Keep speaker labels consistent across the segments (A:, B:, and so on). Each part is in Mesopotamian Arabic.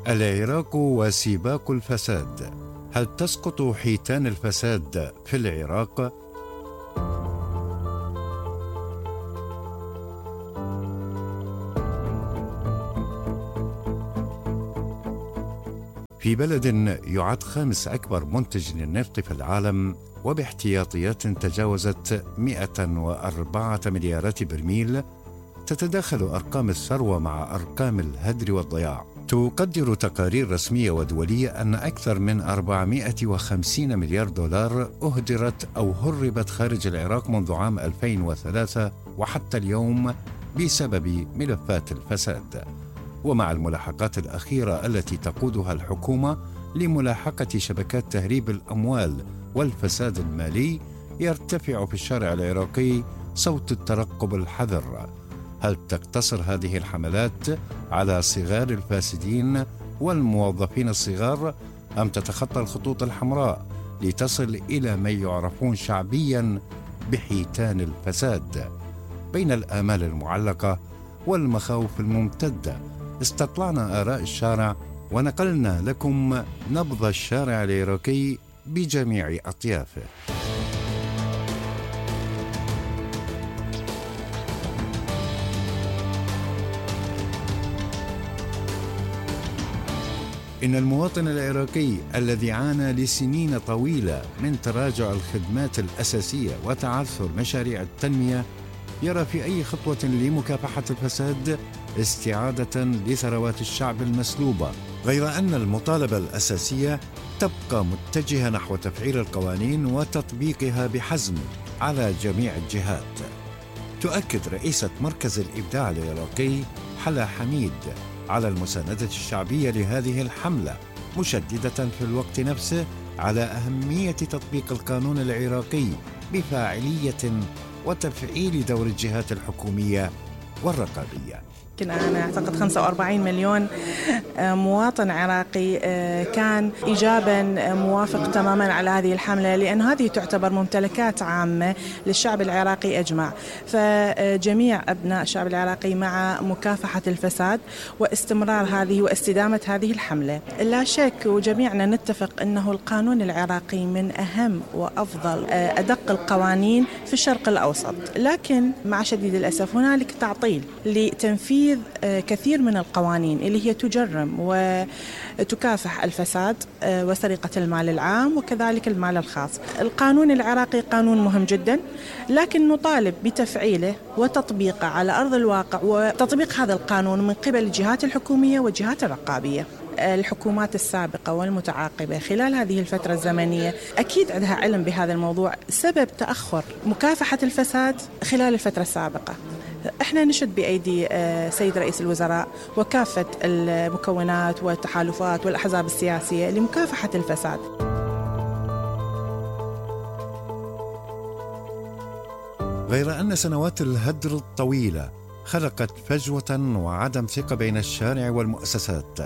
A: العراق وسباق الفساد، هل تسقط حيتان الفساد في العراق؟ في بلد يعد خامس أكبر منتج للنفط في العالم وباحتياطيات تجاوزت 104 مليارات برميل، تتداخل أرقام الثروة مع أرقام الهدر والضياع. تقدر تقارير رسمية ودولية أن أكثر من 450 مليار دولار أهدرت أو هربت خارج العراق منذ عام 2003 وحتى اليوم بسبب ملفات الفساد. ومع الملاحقات الأخيرة التي تقودها الحكومة لملاحقة شبكات تهريب الأموال والفساد المالي، يرتفع في الشارع العراقي صوت الترقب الحذر. هل تقتصر هذه الحملات على صغار الفاسدين والموظفين الصغار، أم تتخطى الخطوط الحمراء لتصل إلى من يعرفون شعبياً بحيتان الفساد؟ بين الآمال المعلقة والمخاوف الممتدة استطلعنا آراء الشارع ونقلنا لكم نبض الشارع العراقي بجميع أطيافه. إن المواطن العراقي الذي عانى لسنين طويلة من تراجع الخدمات الأساسية وتعثر مشاريع التنمية يرى في أي خطوة لمكافحة الفساد استعادة لثروات الشعب المسلوبة، غير أن المطالبة الأساسية تبقى متجهة نحو تفعيل القوانين وتطبيقها بحزم على جميع الجهات. تؤكد رئيسة مركز الإبداع العراقي حلا حميد على المساندة الشعبية لهذه الحملة، مشددة في الوقت نفسه على أهمية تطبيق القانون العراقي بفاعلية وتفعيل دور الجهات الحكومية والرقابية.
B: أنا أعتقد 45 مليون مواطن عراقي كان إيجابا موافق تماما على هذه الحملة، لأن هذه تعتبر ممتلكات عامة للشعب العراقي أجمع. فجميع أبناء الشعب العراقي مع مكافحة الفساد واستمرار هذه واستدامة هذه الحملة. لا شك وجميعنا نتفق أنه القانون العراقي من أهم وأفضل أدق القوانين في الشرق الأوسط، لكن مع شديد الأسف هنالك تعطيل لتنفيذ كثير من القوانين اللي هي تجرم وتكافح الفساد وسرقة المال العام وكذلك المال الخاص. القانون العراقي قانون مهم جدا، لكن نطالب بتفعيله وتطبيقه على أرض الواقع، وتطبيق هذا القانون من قبل الجهات الحكومية والجهات الرقابية. الحكومات السابقة والمتعاقبة خلال هذه الفترة الزمنية أكيد عندها علم بهذا الموضوع، سبب تأخر مكافحة الفساد خلال الفترة السابقة. احنا نشد بأيدي سيد رئيس الوزراء وكافة المكونات والتحالفات والأحزاب السياسية لمكافحة الفساد.
A: غير أن سنوات الهدر الطويلة خلقت فجوة وعدم ثقة بين الشارع والمؤسسات،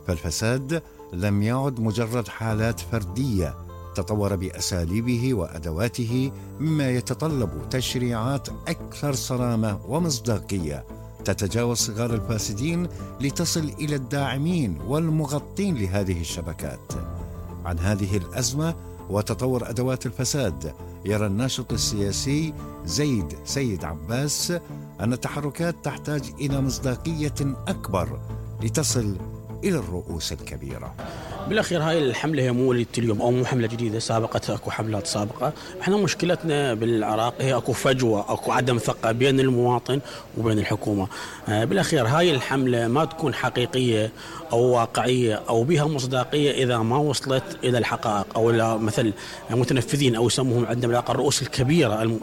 A: فالفساد لم يعد مجرد حالات فردية، تطور بأساليبه وأدواته، مما يتطلب تشريعات أكثر صرامة ومصداقية تتجاوز صغار الفاسدين لتصل إلى الداعمين والمغطين لهذه الشبكات. عن هذه الأزمة وتطور أدوات الفساد يرى الناشط السياسي زيد سيد عباس أن التحركات تحتاج إلى مصداقية أكبر لتصل إلى الرؤوس الكبيرة.
C: بالأخير هاي الحملة هي مو اليوم أو مو حملة جديدة، سابقتها أكو حملات سابقة. احنا مشكلتنا بالعراق هي أكو فجوة، أكو عدم ثقة بين المواطن وبين الحكومة. بالأخير هاي الحملة ما تكون حقيقية أو واقعية أو بها مصداقية إذا ما وصلت إلى الحقائق أو إلى مثل متنفذين أو يسموهم عندنا بالعراق الرؤوس الكبيرة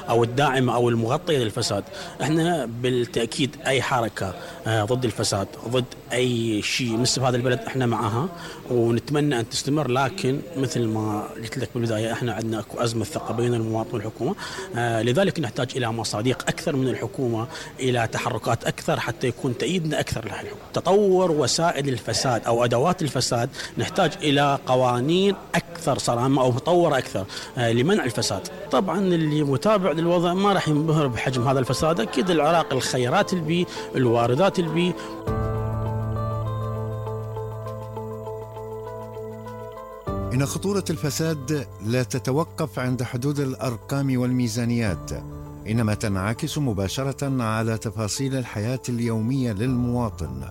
C: أو الداعمة أو المغطية للفساد. احنا بالتأكيد أي حركة ضد الفساد، ضد أي شيء مثل هذا البلد احنا معها ونتمنى أن تستمر، لكن مثل ما قلت لك بالبداية احنا عندنا أكو أزمة ثقة بين المواطن والحكومة. لذلك نحتاج إلى مصادق أكثر من الحكومة، إلى تحركات أكثر حتى يكون تأييدنا أكثر لها الحكومة. تطور وسائل الفساد أو أدوات الفساد نحتاج إلى قوانين أكثر صرامة أو مطورة أكثر لمنع الفساد. طبعا اللي متابع للوضع ما راح ينبهر بحجم هذا الفساد. أكيد العراق الخيرات البي، الواردات البي.
A: إن خطورة الفساد لا تتوقف عند حدود الأرقام والميزانيات، إنما تنعكس مباشرة على تفاصيل الحياة اليومية للمواطن،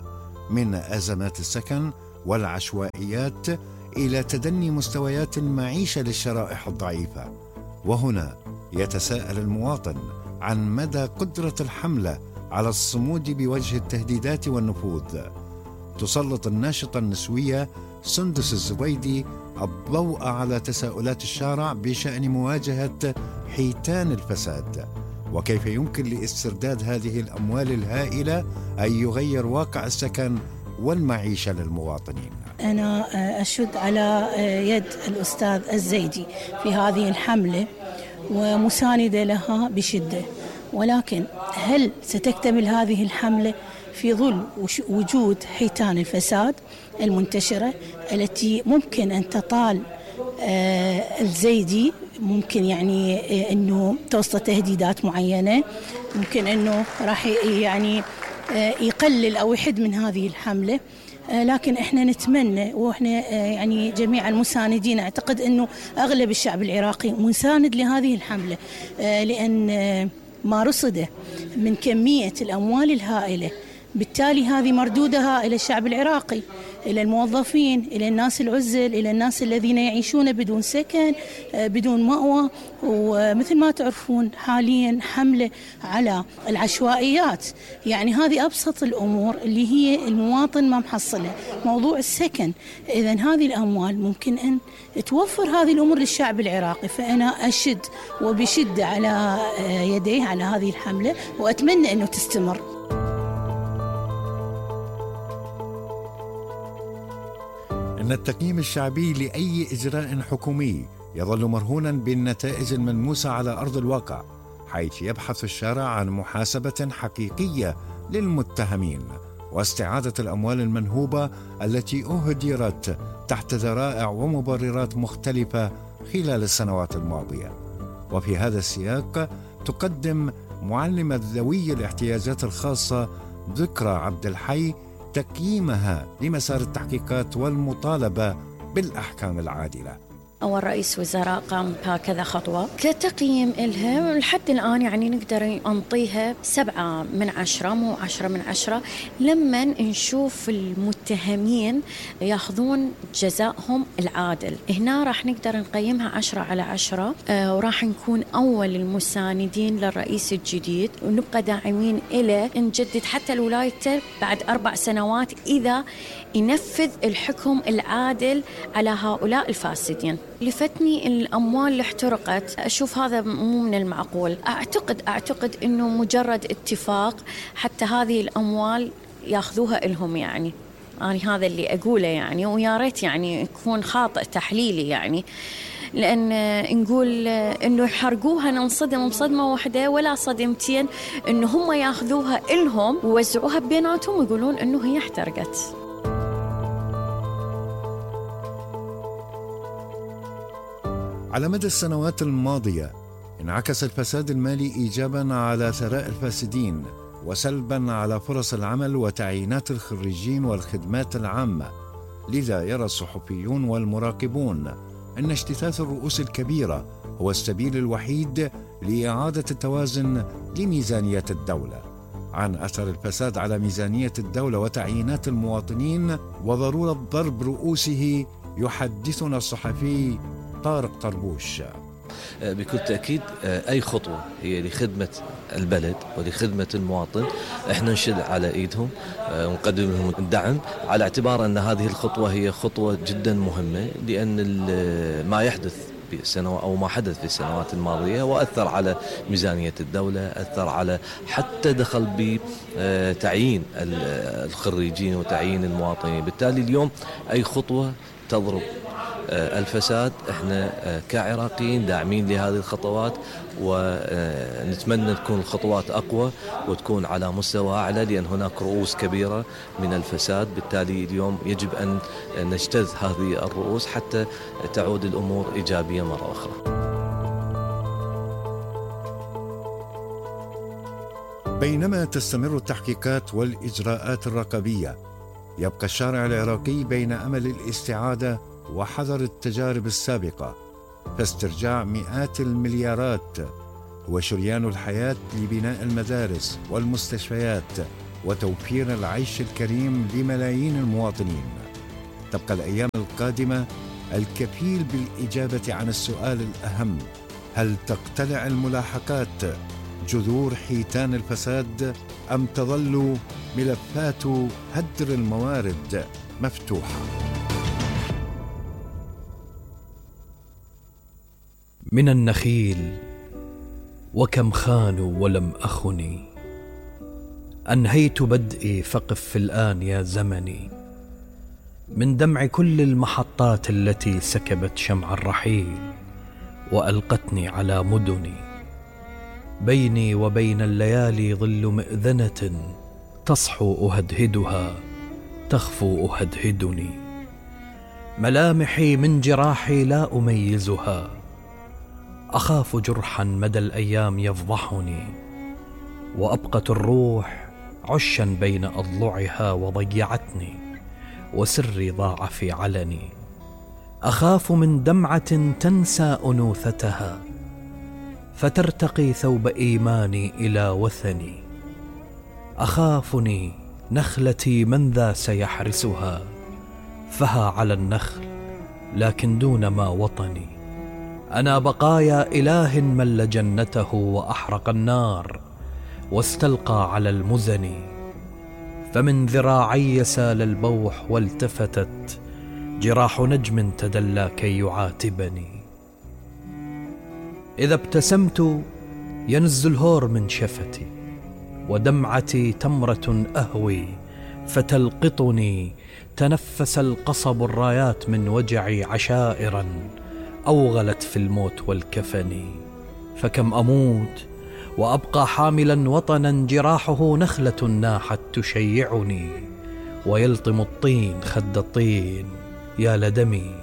A: من أزمات السكن والعشوائيات إلى تدني مستويات المعيشة للشرائح الضعيفة. وهنا يتساءل المواطن عن مدى قدرة الحملة على الصمود بوجه التهديدات والنفوذ. تسلط الناشطة النسوية سندس الزبيدي الضوء على تساؤلات الشارع بشأن مواجهة حيتان الفساد، وكيف يمكن لاسترداد هذه الأموال الهائلة أن يغير واقع السكن والمعيشة للمواطنين.
D: أنا أشد على يد الأستاذ الزيدي في هذه الحملة ومساندة لها بشدة، ولكن هل ستكتمل هذه الحملة في ظل وجود حيتان الفساد المنتشرة التي ممكن أن تطال الزيدي؟ ممكن يعني أنه توصل تهديدات معينة، ممكن أنه راح يعني يقلل أو يحد من هذه الحملة. لكن احنا نتمنى، واحنا يعني جميع المساندين، اعتقد انه اغلب الشعب العراقي مساند لهذه الحملة، لان ما رصده من كمية الاموال الهائلة، بالتالي هذه مردودها الى الشعب العراقي، الى الموظفين، الى الناس العزل، الى الناس الذين يعيشون بدون سكن، بدون مأوى. ومثل ما تعرفون حاليا حملة على العشوائيات، يعني هذه أبسط الأمور اللي هي المواطن ما محصلها، موضوع السكن. إذن هذه الأموال ممكن أن توفر هذه الأمور للشعب العراقي. فأنا أشد وبشدة على يديه على هذه الحملة، وأتمنى أنه تستمر.
A: إن التقييم الشعبي لأي إجراء حكومي يظل مرهونا بالنتائج الملموسة على أرض الواقع، حيث يبحث الشارع عن محاسبة حقيقية للمتهمين واستعادة الأموال المنهوبة التي أهدرت تحت ذرائع ومبررات مختلفة خلال السنوات الماضية. وفي هذا السياق تقدم معلمة ذوي الاحتياجات الخاصة ذكرى عبد الحي تقييمها لمسار التحقيقات والمطالبة بالأحكام العادلة.
E: أول رئيس وزراء قام بهكذا خطوة كتقييم إلها، لحد الآن يعني نقدر نعطيها 7 من 10، مو 10 من 10، لما نشوف المتهمين ياخذون جزائهم العادل. هنا راح نقدر نقيمها 10 على 10، وراح نكون أول المساندين للرئيس الجديد، ونبقى داعمين إلى نجدد حتى الولايته بعد 4 سنوات إذا ينفذ الحكم العادل على هؤلاء الفاسدين. لفتني الأموال اللي احترقت، أشوف هذا مو من المعقول. أعتقد أنه مجرد اتفاق حتى هذه الأموال ياخذوها إلهم، يعني أنا هذا اللي أقوله يعني، ويا ريت يعني يكون خاطئ تحليلي يعني، لأن نقول إنه يحرقوها ننصدم صدمة واحدة ولا صدمتين، إنه هم ياخذوها إلهم ويوزعوها بيناتهم ويقولون إنه هي احترقت.
A: على مدى السنوات الماضية انعكس الفساد المالي إيجاباً على ثراء الفاسدين، وسلباً على فرص العمل وتعيينات الخريجين والخدمات العامة. لذا يرى الصحفيون والمراقبون أن اجتثاث الرؤوس الكبيرة هو السبيل الوحيد لإعادة التوازن لميزانية الدولة. عن أثر الفساد على ميزانية الدولة وتعيينات المواطنين وضرورة ضرب رؤوسه يحدثنا الصحفي طارق طربوش.
F: بكل تأكيد أي خطوة هي لخدمة البلد ولخدمة المواطن احنا نشد على ايدهم ونقدم لهم الدعم، على اعتبار أن هذه الخطوة هي خطوة جدا مهمة، لأن ما يحدث أو ما حدث في السنوات الماضية وأثر على ميزانية الدولة، أثر على حتى دخل بتعيين الخريجين وتعيين المواطنين. بالتالي اليوم أي خطوة تضرب الفساد احنا كعراقيين داعمين لهذه الخطوات، ونتمنى تكون الخطوات أقوى وتكون على مستوى أعلى، لأن هناك رؤوس كبيرة من الفساد. بالتالي اليوم يجب أن نجتث هذه الرؤوس حتى تعود الأمور إيجابية مرة أخرى.
A: بينما تستمر التحقيقات والإجراءات الرقابية، يبقى الشارع العراقي بين أمل الاستعادة وحذر التجارب السابقة، فاسترجاع مئات المليارات هو شريان الحياة لبناء المدارس والمستشفيات وتوفير العيش الكريم لملايين المواطنين. تبقى الأيام القادمة الكفيل بالإجابة عن السؤال الأهم: هل تقتلع الملاحقات جذور حيتان الفساد أم تظل ملفات هدر الموارد مفتوحة؟
G: من النخيل وكم خانوا ولم أخني، أنهيت بدئي فقف الآن يا زمني، من دمع كل المحطات التي سكبت شمع الرحيل وألقتني على مدني. بيني وبين الليالي ظل مئذنة تصحو أهدهدها تخفو أهدهدني، ملامحي من جراحي لا أميزها، أخاف جرحا مدى الأيام يفضحني، وأبقت الروح عشا بين أضلعها وضيعتني، وسري ضاع في علني. أخاف من دمعة تنسى أنوثتها فترتقي ثوب إيماني إلى وثني. أخافني نخلتي من ذا سيحرسها، فها على النخل لكن دون ما وطني. أنا بقايا إله مل جنته وأحرق النار واستلقى على المزن، فمن ذراعي سال البوح والتفتت جراح نجم تدلى كي يعاتبني. إذا ابتسمت ينز الهور من شفتي، ودمعتي تمرة أهوي فتلقطني. تنفس القصب الرايات من وجعي عشائرا أوغلت في الموت والكفن. فكم أموت وأبقى حاملا وطنا جراحه نخلة ناحت تشيعني، ويلطم الطين خد الطين يا لدمي،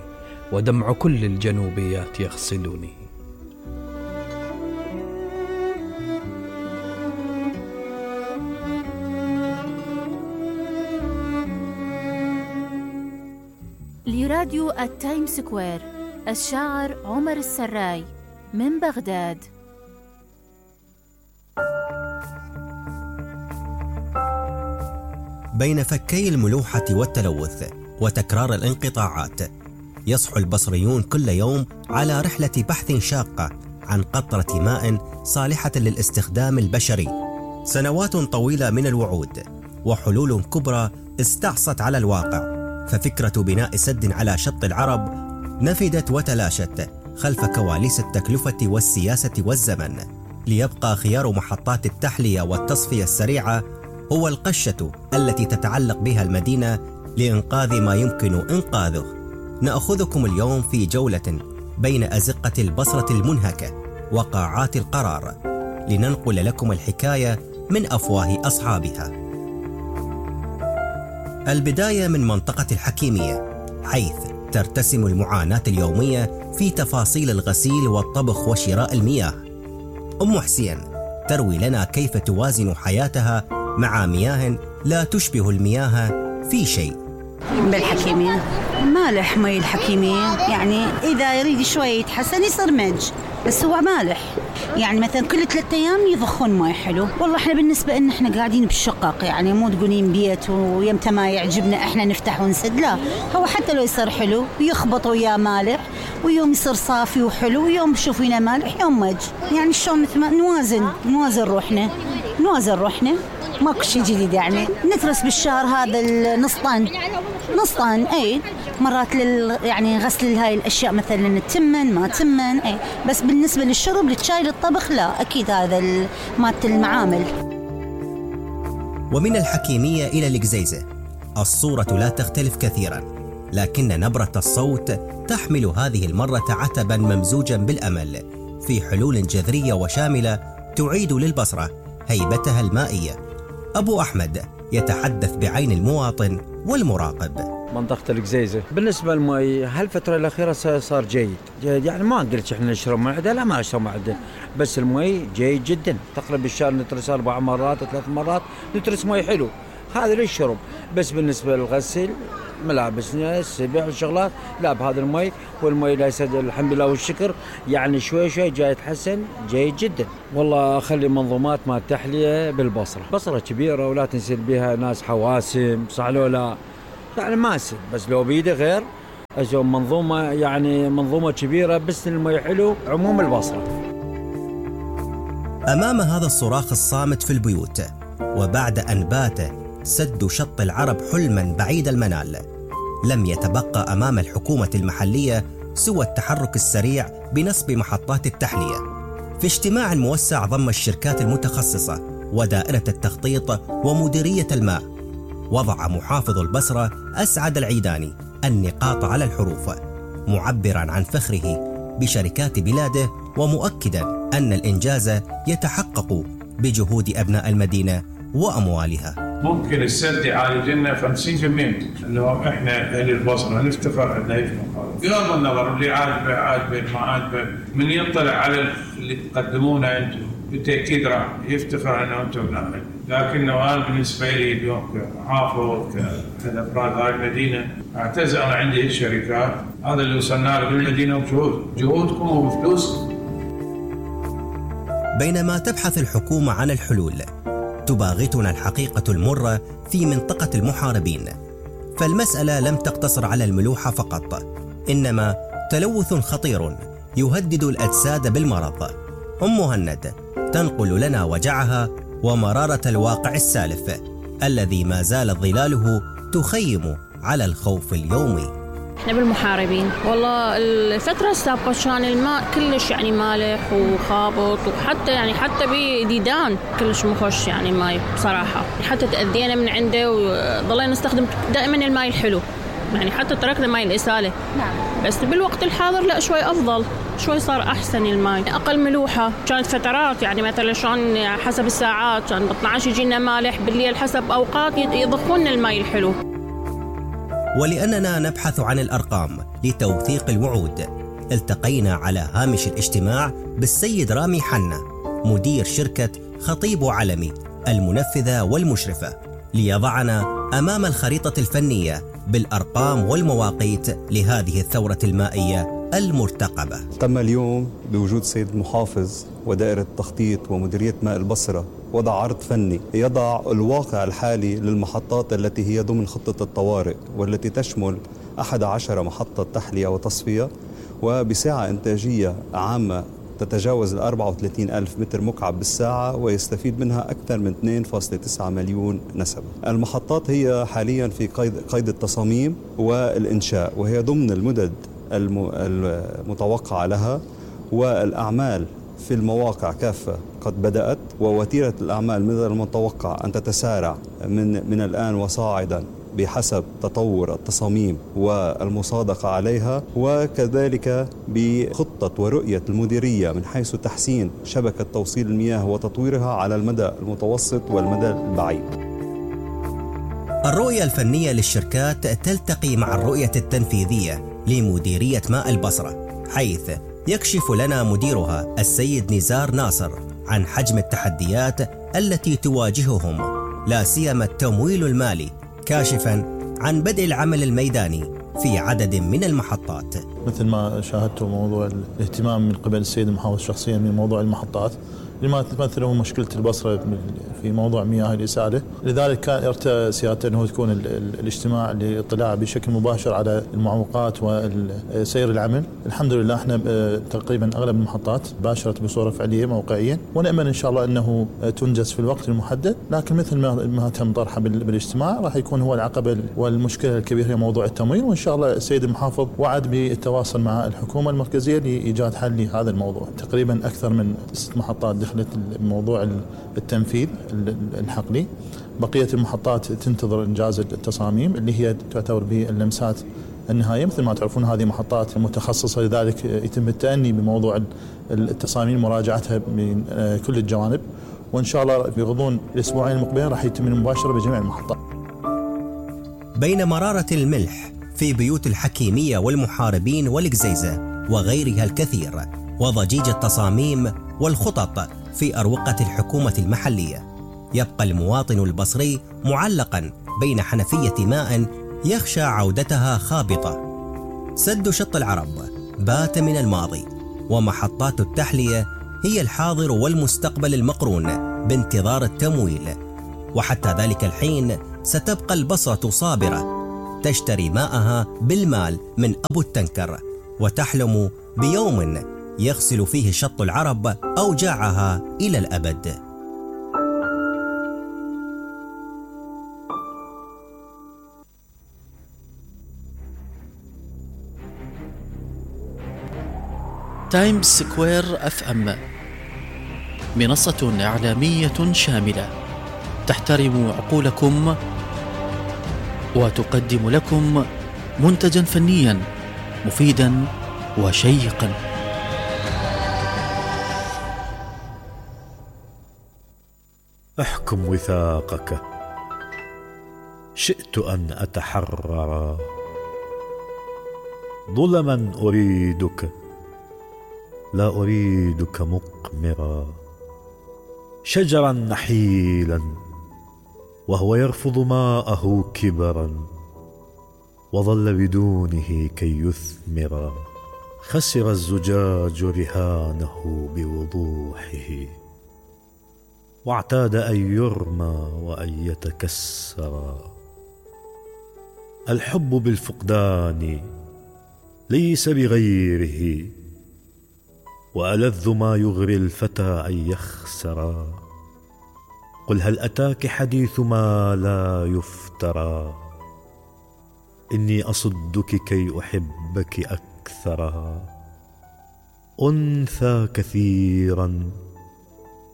G: ودمع كل الجنوبيات يغسلني.
H: لراديو التايم سكوير، الشاعر عمر السراي من بغداد.
I: بين فكي الملوحة والتلوث وتكرار الانقطاعات، يصحو البصريون كل يوم على رحلة بحث شاقة عن قطرة ماء صالحة للاستخدام البشري. سنوات طويلة من الوعود وحلول كبرى استعصت على الواقع، ففكرة بناء سد على شط العرب نفدت وتلاشت خلف كواليس التكلفة والسياسة والزمن، ليبقى خيار محطات التحلية والتصفية السريعة هو القشة التي تتعلق بها المدينة لإنقاذ ما يمكن إنقاذه. نأخذكم اليوم في جولة بين أزقة البصرة المنهكة وقاعات القرار، لننقل لكم الحكاية من أفواه أصحابها. البداية من منطقة الحكيمية، حيث ترتسم المعاناة اليومية في تفاصيل الغسيل والطبخ وشراء المياه. أم حسين تروي لنا كيف توازن حياتها مع مياه لا تشبه المياه في شيء.
J: بالحكيمية مالح مي الحكيمية، يعني إذا يريد شوي يتحسن يصير مج، بس هو مالح. يعني مثلا كل 3 أيام يضخون مي حلو. والله احنا بالنسبة إن احنا قاعدين بالشقق، يعني مو تقولين بيت ويمتى ما يعجبنا احنا نفتح ونسد، لا، هو حتى لو يصير حلو يخبط وياه مالح، ويوم يصير صافي وحلو، ويوم شوفينا مالح يوم مج. يعني شلون مثل ما نوازن روحنا ماكو شيء جديد. يعني نترس بالشهر هذا نص طن اي مرات يعني غسل هاي الاشياء مثلا تمن ما تمن اي، بس بالنسبه للشرب للشاي للطبخ لا، اكيد هذا مالت المعامل.
I: ومن الحكيميه الى القزيزه الصوره لا تختلف كثيرا، لكن نبره الصوت تحمل هذه المره عتبا ممزوجا بالامل في حلول جذريه وشامله تعيد للبصره هيبتها المائيه. أبو أحمد يتحدث بعين المواطن والمراقب.
K: منطقة القزيزة بالنسبة للمي هالفترة الأخيرة صار جيد، يعني ما قلت إحنا نشرب معدة، لا ما نشرب معدة، بس المي جيد جدا. تقريبا بالشهر نترس 4 مرات 3 مرات نترس مي حلو، هذا للشرب. بس بالنسبة للغسل ملابس السبع والشغلات لا بهذا المي، والمي ليس الحمد لله والشكر يعني شوي شوي جاي يتحسن جيد جدا. والله خلي منظومات ما تحلية بالبصرة، بصرة كبيرة ولا تنسل بها ناس حواسم صح لو لا يعني ماسل، بس لو بيده غير أسوي منظومة يعني منظومة كبيرة بس المي حلو عموم البصرة.
I: أمام هذا الصراخ الصامت في البيوت، وبعد أن بات سد شط العرب حلما بعيد المنال، لم يتبقى أمام الحكومة المحلية سوى التحرك السريع بنصب محطات التحلية. في اجتماع موسع ضم الشركات المتخصصة ودائرة التخطيط ومديرية الماء، وضع محافظ البصرة أسعد العيداني النقاط على الحروف، معبرا عن فخره بشركات بلاده ومؤكدا أن الإنجاز يتحقق بجهود أبناء المدينة وأموالها.
L: ممكن السد يعالج لنا 50% انه احنا اهل البصره نفتخر انه يفهم هذا. بغض النظر اللي عاجبه ما عاجبه، من يطلع على اللي تقدمونه انتم بالتاكيد راح يفتخر انه انتم نعمل. لكنه انا بالنسبه لي اليوم كمحافظ كاحد افراد هاي المدينه اعتز انا عندي الشركات، هذا اللي وصلنا له بالمدينه بجهودكم وبفلوسكم.
I: بينما تبحث الحكومة عن الحلول، تباغتنا الحقيقة المرة في منطقة المحاربين، فالمسألة لم تقتصر على الملوحة فقط، إنما تلوث خطير يهدد الأجساد بالمرض. مهند تنقل لنا وجعها ومرارة الواقع السالف الذي ما زالت ظلاله تخيم على الخوف اليومي.
M: احنا بالمحاربين والله الفترة السابقة كان الماء كلش يعني مالح وخابط، وحتى يعني حتى بديدان كلش مخش يعني الماء بصراحة، حتى تأذينا من عنده وضلينا نستخدم دائما الماء الحلو، يعني حتى تركنا ماء الإسالة. نعم. بس بالوقت الحاضر لا شوي أفضل، شوي صار أحسن الماء، أقل ملوحة. كانت فترات يعني مثلا شلون حسب الساعات كان ب 12 يجينا مالح، بالليل حسب أوقات يضخون الماء الحلو.
I: ولأننا نبحث عن الأرقام لتوثيق الوعود، التقينا على هامش الاجتماع بالسيد رامي حنا مدير شركة خطيب علمي المنفذة والمشرفة، ليضعنا أمام الخريطة الفنية بالأرقام والمواقيت لهذه الثورة المائية المرتقبة.
N: تم اليوم بوجود السيد المحافظ ودائرة التخطيط ومديرية ماء البصرة وضع عرض فني يضع الواقع الحالي للمحطات التي هي ضمن خطة الطوارئ، والتي تشمل 11 محطة تحلية وتصفية، وبسعة إنتاجية عامة تتجاوز 34 ألف متر مكعب بالساعة، ويستفيد منها أكثر من 2.9 مليون نسمة. المحطات هي حاليا في قيد التصاميم والإنشاء، وهي ضمن المدد المتوقعة لها، والأعمال في المواقع كافة قد بدأت، ووتيرة الأعمال من المتوقع أن تتسارع من الآن وصاعدا بحسب تطور التصاميم والمصادقة عليها، وكذلك بخطة ورؤية المديرية من حيث تحسين شبكة توصيل المياه وتطويرها على المدى المتوسط والمدى البعيد.
I: الرؤية الفنية للشركات تلتقي مع الرؤية التنفيذية لمديرية ماء البصرة، حيث يكشف لنا مديرها السيد نزار ناصر عن حجم التحديات التي تواجههم، لا سيما التمويل المالي، كاشفا عن بدء العمل الميداني في عدد من المحطات.
O: مثل ما شاهدتوا موضوع الاهتمام من قبل السيد المحافظ شخصيا من موضوع المحطات لما تمثله مشكلة البصرة في موضوع مياه الإسالة، لذلك كان ارتأى سيادته أنه تكون الاجتماع للاطلاع بشكل مباشر على المعوقات وسير العمل. الحمد لله احنا تقريبا أغلب المحطات باشرت بصورة فعلية موقعيا، ونأمل إن شاء الله أنه تنجز في الوقت المحدد، لكن مثل ما تم طرحه بالاجتماع راح يكون هو العقبة والمشكلة الكبيرة هي موضوع التمويل، وإن شاء الله السيد المحافظ وعد بالتواصل مع الحكومة المركزية لإيجاد حل لهذا الموضوع. تقريبا أكثر من 6 محطات دخلت موضوع التنفيذ الحقلي، بقية المحطات تنتظر إنجاز التصاميم اللي هي تعتبر باللمسات النهائية. مثل ما تعرفون هذه محطات متخصصة، لذلك يتم التأني بموضوع التصاميم مراجعتها من كل الجوانب، وإن شاء الله بغضون الأسبوعين المقبلين راح يتم المباشرة بجميع المحطات.
I: بين مرارة الملح في بيوت الحكيمية والمحاربين والقزيزة وغيرها الكثير، وضجيج التصاميم والخطط في أروقة الحكومة المحلية، يبقى المواطن البصري معلقا بين حنفية ماء يخشى عودتها خابطة. سد شط العرب بات من الماضي، ومحطات التحلية هي الحاضر والمستقبل المقرون بانتظار التمويل. وحتى ذلك الحين ستبقى البصرة صابرة تشتري ماءها بالمال من أبو التنكر، وتحلم بيوم يغسل فيه شط العرب أوجاعها إلى الأبد.
P: تايمز سكوير FM منصة إعلامية شاملة تحترم عقولكم وتقدم لكم منتجا فنيا مفيدا وشيقا.
Q: احكم وثاقك، شئت أن أتحرر، ظلما أريدك لا أريدك مقمرا، شجرا نحيلا وهو يرفض ماءه كبرا، وظل بدونه كي يثمر، خسر الزجاج رهانه بوضوحه، واعتاد أن يرمى وأن يتكسر. الحب بالفقدان ليس بغيره، وألذ ما يغري الفتى أن يخسر. قل هل أتاك حديث ما لا يفترى، إني أصدك كي أحبك أكثر. أنثى كثيرا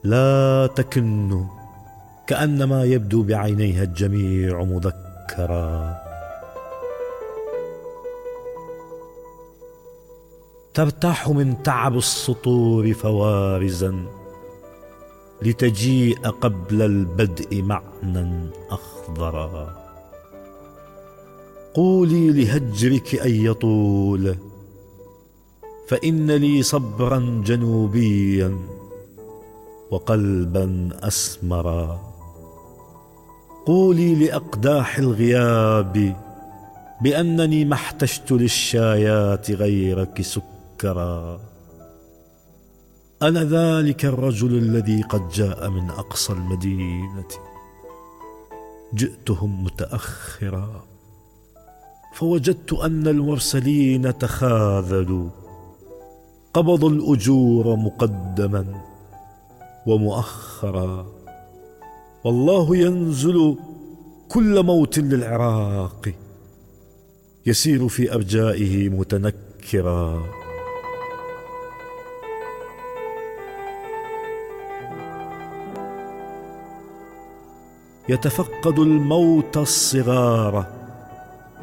Q: لا تكن، كأنما يبدو بعينيها الجميع مذكرا. ترتاح من تعب السطور فوارزا، لتجيء قبل البدء معنى أخضرا. قولي لهجرك أن يطول، فإن لي صبرا جنوبيا وقلبا أسمرا. قولي لأقداح الغياب بأنني ما احتجت للشايات غيرك سكرا. أنا ذلك الرجل الذي قد جاء من أقصى المدينة، جئتهم متأخرا، فوجدت أن المرسلين تخاذلوا، قبضوا الأجور مقدما ومؤخرا. والله ينزل كل موت للعراق، يسير في أرجائه متنكرا. يتفقد الموت الصغار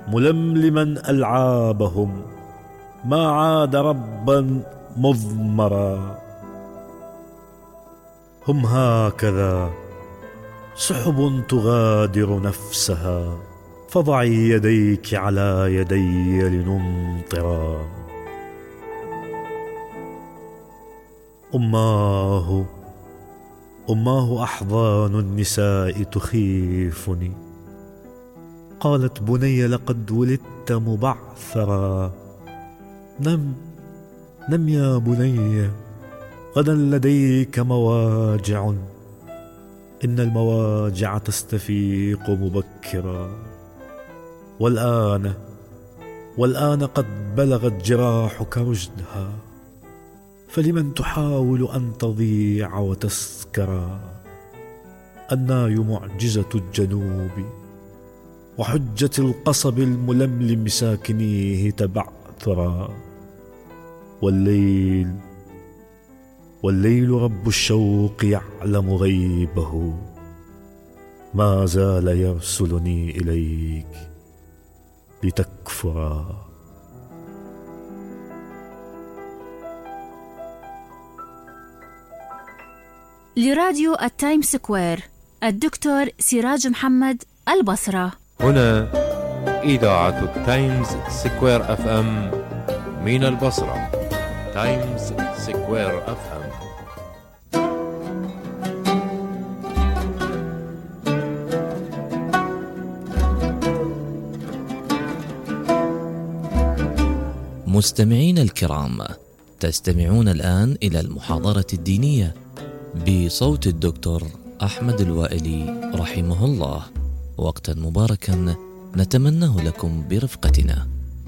Q: ململما ألعابهم، ما عاد ربا مضمرا. هم هكذا سحب تغادر نفسها، فضعي يديك على يدي لنمطرا. أماه أحضان النساء تخيفني، قالت بني لقد ولدت مبعثرا. نم يا بني، غدا لديك مواجع، إن المواجع تستفيق مبكرا. والآن قد بلغت جراحك رشدها، فلمن تحاول أن تضيع وتسكرا. الناي معجزة الجنوب، وحجة القصب الململم ساكنيه تبعثرا. والليل رب الشوق يعلم غيبه، ما زال يرسلني إليك لتكفرا.
H: لراديو التايم سكوير، الدكتور سراج محمد، البصرة.
R: هنا إذاعة التايمز سكوير FM من البصرة. تايمز سكوير FM.
S: مستمعين الكرام، تستمعون الآن إلى المحاضرة الدينية بصوت الدكتور أحمد الوائلي رحمه الله. وقتا مباركا نتمناه لكم برفقتنا.